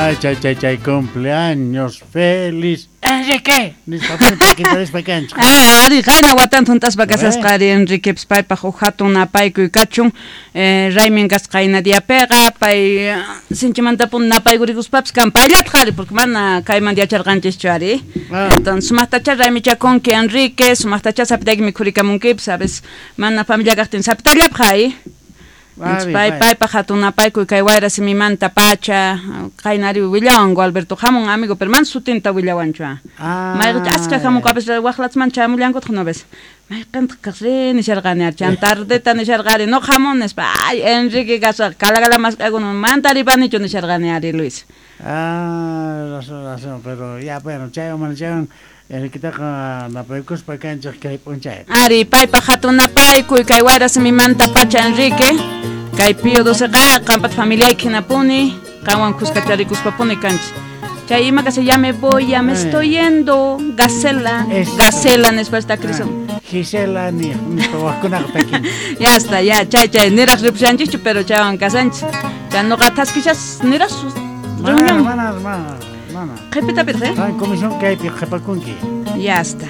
Ay, chay, chay, chay, cumpleaños feliz. Enrique! Nispa takintarispa kanchik. Ah, ari, qayna watanta junt'aspa kasasqa ari Enriquepis paypaj uj jatun napaykuy kachun. Raymin kasqa qayna diapiqa, pay sinchimantapuni napaykurikuspapas kan payllataj ari, porque mana kaymanta yacharqanchischu ari. Entonces, sumajtachá raymichakunki Enrique, sumajtachá sapitayki mikhurikamunkipis, a veces mana familia kajtin sapitallapaj ari. Ari, Pay, pay. paypaj jatun napaykuy kay wayra simimanta pacha, qayna ari willawanku Alberto, jamun amigo, pero mana sutinta willawanchu, ah. Ah. Mayqencha askha jamunku, a veces wajlatsman chamullankutaq, no ves. Mayqentaq kaq ri nisharqani ari, chan tardeta nisharqa ari, no jamun nispa, ay, Enrique kasqa, kalakala mask'akuna, mana taripanichu nisharqani ari, Luis. Ah, razón, razón, pero ya, bueno, chaywan mana chaywan, Enriquetaqa napaykuspa kanchej kay p'unchaypi. Ari, paypaj jatun napaykuy kay wayra simimanta pacha Enrique, kay Pío doceqa qanpata familiayki hinapuni, qanwan khuskacharikuspapuni kanchis. Chay ima kasha, ya me voy, ya me estoy yendo, Gacela, Eso. Gacela nispa esta Crisón. Ah, Gisela ni, nispa wajkunaqa takin. Ya está, ya, chay, chay, niraj ripushanchikchu, pero chaywan kasanchis. Chay noqa thaskishas niraj Mana, reunión. mana, mana, mana. Qhipitapitaq, eh? Qan comisión kaypi qhipakunki. Ya está.